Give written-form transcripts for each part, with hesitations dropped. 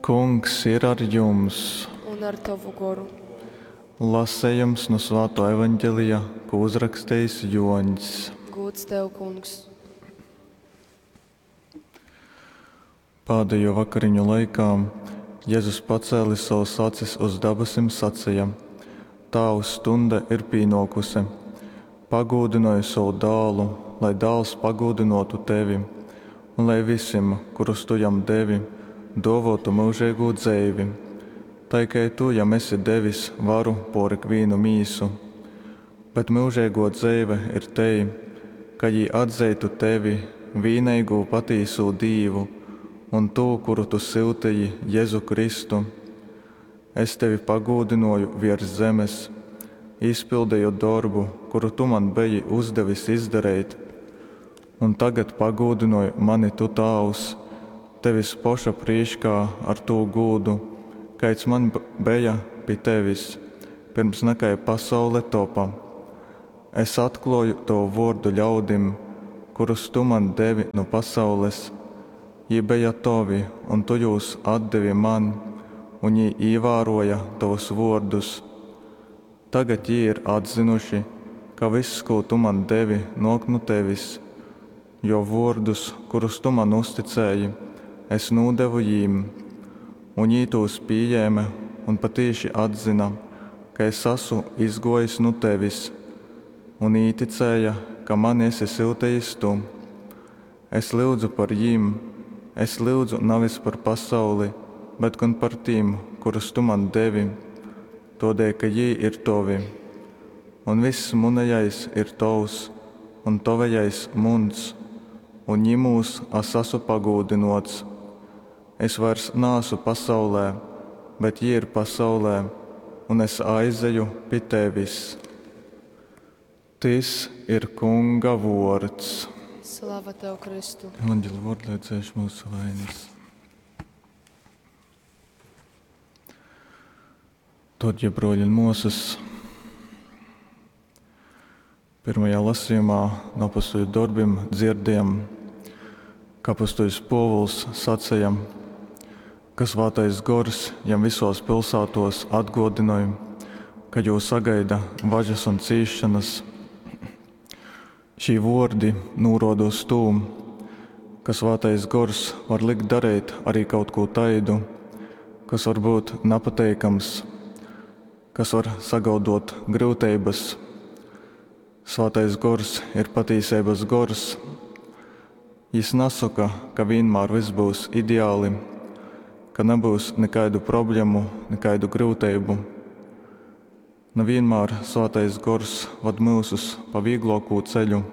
Kungs ir ar jums! Un ar tovu goru. Lasejums nu Svātō Evangelija, kū uzrakstejis Jōņs. Gūds tev, Kungs! Pādejū vakariņu laikā Jezus pacēlis sovas acis uz dabasim saceja, Tāvs, stunde ir pīnōkuse. Pagūdynoj sovu Dālu, lai Dāls pagūdynōtu tevi, un lai visim, kurus tu jam devi, dōvōtu myužeigū dzeivi. Tai kai tu jam esi devis varu pōr ikvīnu mīsu. Bet myužeigō dzeive ir tei, ka jī atzeitu tevi, vīneigū patīsū Dīvu, un tū, kuru tu syuteji, Jezu Kristu. Es tevi pagūdynōju viers zemes, izpildeju dorbu, kuru tu man beji uzdevis izdareit. Un tagad pagūdynoj mani tu, Tāvs, tevis poša prīškā ar tū gūdu, kaids man beja pi tevis, pyrms nakai pasaule topa. Es atklōju tovu vōrdu ļaudim, kurus tu man devi nu pasaules. Jī beja tovi un tu jūs atdevi man, un jī īvārōja tovus vōrdus. Tagad jī ir atzynuši, ka vyss, kū tu man devi, nōk nu tevis. Jo vōrdus, kurus tu man uzticēji, es nūdevu jīm. Un jī tūs pījēme un patīši atzyna, ka es asu izgōjis nu tevis, un īticēja, ka mani esi syutejis tu. Es lyudzu par jim, es lyudzu navis par pasauli, bet gon par tim, kurus tu man devi, tōdēļ ka jī ir tovi. Un vyss munejais ir tovs, un tovejais muns, un jymūs as asu pagūdynōts. Es vairs naasu pasaulē, bet jī ir pasaulē, un es aizeju pi tevis. Tys ir Kunga vōrds. Slava tev, Kristu! Evanģeli vārdi, lai dzēš mūsu vainas. Tad, ja broļi un mosas, pirmajā lasījumā no apustuļu darbiem dzirdējam, ka apustuļs Pōvuls sacīja, ka Svātais Gors jam visos pilsētos atgādināja, ka jū sagaida važas un cīšanas. Šī vārdi norāda uz to, ka Svātais Gors var likt darīt arī kaut ko taidu, kas var būt nepateikams, kas var sagaudot grūtības. Svētais Gors ir patīsības gors. Jis nesaka, ka vienmēr viss būs ideāli, ka nebūs nekādu problēmu, nekādu grūtību. Ne vienmēr Svētais Gors vad mūsus pa vieglāko ceļu.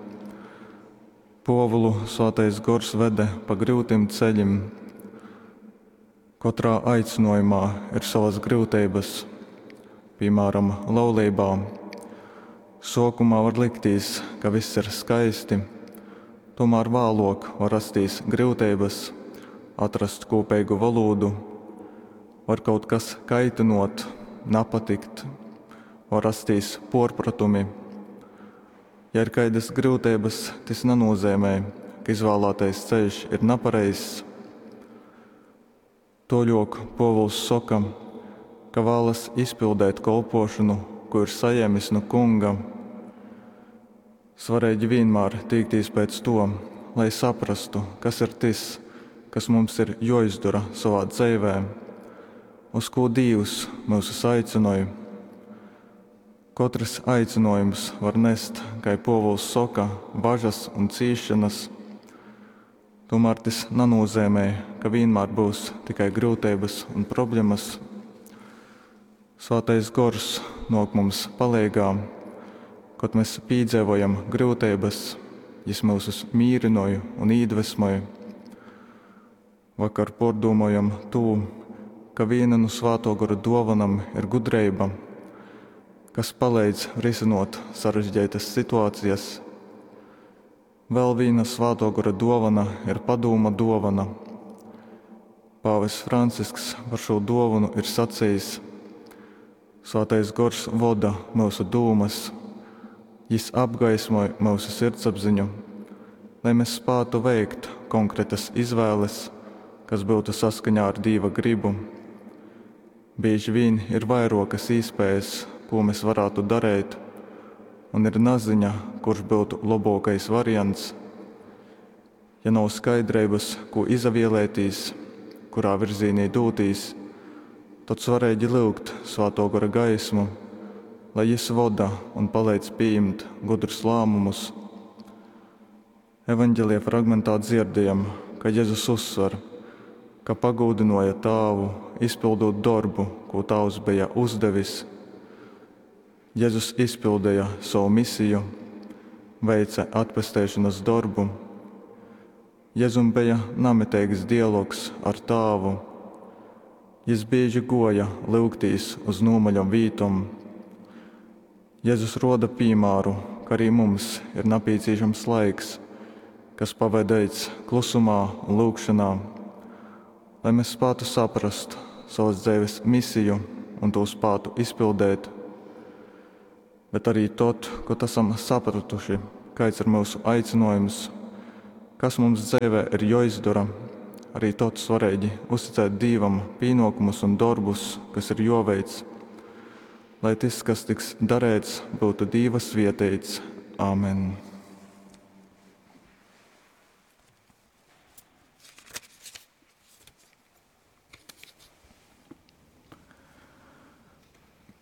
Pōvulu Svētais Gors vede pa grūtiem ceļiem. Katrā aicinājumā ir savas grūtības, piemēram, laulībā. Sākumā var likties, ka viss ir skaisti, tomēr vēlāk var rasties grūtības, atrast kopīgu valodu, var kaut kas kaitinot, nepatikt, var rasties porpratumi. Ja ir kādas grūtības, tas nenozīmē, ka izvēlētais ceļš ir nepareizs. Toļok Pōvuls saka, ka vēlas izpildīt kolpošanu, ko ir saņēmis no kunga. Svarīgi vienmēr tīkties pēc to, lai saprastu, kas ir tas, kas mums ir jāizdara savā dzīvē, uz ko Dievs mūs aicināja. Katrs aicinājums var nest, kā Pōvuls saka, važas un cīšanas. Tomēr tas nenozīmē, ka vienmēr būs tikai grūtības un problēmas. Svētais gors nāk mums palīgā, kad mēs piedzīvojam grūtības, jis mūsus mīrinoja un iedvesmoja. Vakar pārdomājam to, ka viena no Svēto gara dāvanām ir gudrība, kas palīdz risinot sarežģītas situācijas. Vēl viena Svēto gara dāvana ir padūma dāvana. Pāvests Francisks par šo dāvanu ir sacījis: Svētais gors voda mūsu dūmas, jis apgaismoja mūsu sirdsapziņu, lai mēs spētu veikt konkrētas izvēles kas byutu saskaņā ar Dīva grybu? Bīži vīn ir vairōkas īspējas, kū mes varātu dareit, un ir naziņa, kurš byutu lobōkais variants. Ja nav skaidreibas, kū izavielētīs, kurā virzīnī dūtīs, tod svareigi lyugt Svātō Gora gaismu, lai Jys voda un paleidz pījimt gudrus lāmumus. Evaņgelija fragmentā dzierdējam, ka Jezus uzsver, ka pagūdynōja Tāvu, izpyldūt dorbu, kū Tāvs beja uzdevis. Jezus izpildeja sovu misiju, veice atpesteišonas dorbu. Jezum beja namiteigs dialogs ar Tāvu. Jys bīži gōja lyugtīs uz nūmaļom vītom. Jezus rōda pīmāru, ka ari mums ir napīcīšams laiks, kas pavadeits klusumā un lyugšonā, lai mes spātu saprast savas dzeives misiju un tū spātu izpildeit. Bet arī tod, kod asam sapratuši, kaids ir myusu aicinōjums, kas mums dzeivē ir jōizdora, arī tod svareigi uzticēt Dīvam pīnōkumus un dorbus, kas ir jōveic, lai tys, kas tiks dareits, byutu Dīva svieteits. Āmen.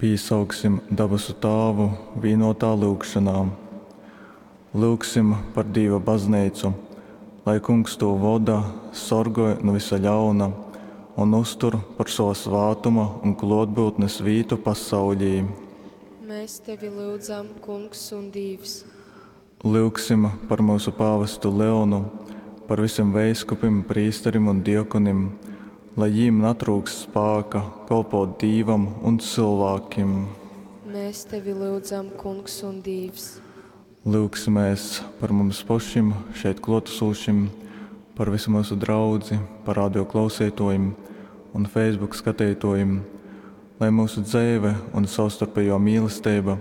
Pīsauksim dabasu Tāvu vīnotā lyugšonā. Lyugsim par Dīva bazneicu, lai Kungs tū voda, sorgoj nu visa ļauna un uztur par sova svātuma un klōtbyutnes vītu pasauļī. Mēs tevi lyudzam, Kungs un Dīvs. Lyugsim par myusu pāvestu Leonu, par visim veiskupim, prīsterim un diakonim, lai jīm natryukst spāka kolpōt Dīvam un cylvākim. Mēs tevi lyudzam, Kungs un Dīvs. Lyugsimēs par mums pošim, šeit klōtasūšim, par visu myusu draudzi, par radio klauseitōjim un Facebook skateitōjim, lai myusu dzeive un savstarpejō mīlesteiba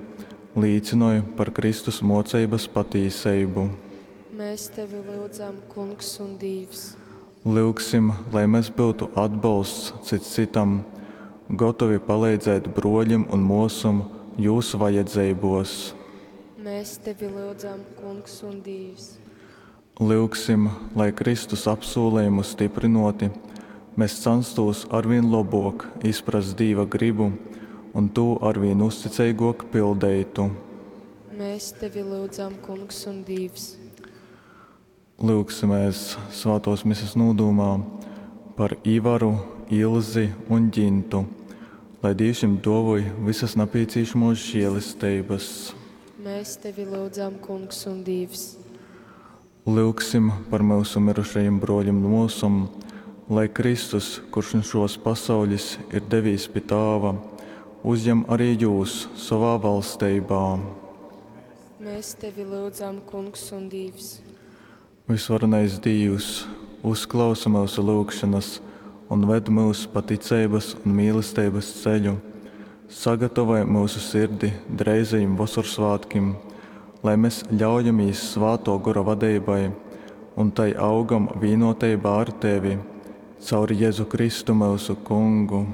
līcynoj par Kristus mōceibas patīseibu. Mēs tevi lyudzam, Kungs un Dīvs. Lyugsim, lai mes byutu atbolsts cyts cytam, gotovi paleidzēt brōļim un mōsom jūs vajadzeibōs. Mēs tevi lyudzam, Kungs un Dīvs. Lyugsim, lai, Kristus apsūlejumu styprynōti, mes canstūs arvīn lobōk izprast Dīva grybu un tū arvīn uzticeigōk pildeitu. Mēs tevi lyudzam, Kungs un Dīvs. Lyugsimēs svātōs mises nūdūmā par Ivaru, Ilzi un Gintu, lai Dīvs jim dōvoj visas napīcīšamōs žēlesteibas. Mēs tevi lyudzam, Kungs un Dīvs. Lyugsim par myusu myrušajim brōļim un mōsom, lai Kristus, kurš nu šōs pasauļis ir devīs pi Tāva, uzjem arī jūs sovā valsteibā. Mēs tevi lyudzam, Kungs un Dīvs. Visvarenais Dīvs, uzklausa myusu lyugšonas un ved myus pa ticeibas un mīlesteibas ceļu. Sagatavoj myusu sirdi dreizajim Vosorsvātkim, lai mes ļaujamīs Svātō Gora vadeibai un tai augam vīnoteibā ar Tevi. Caur Jezu Kristu myusu Kungu.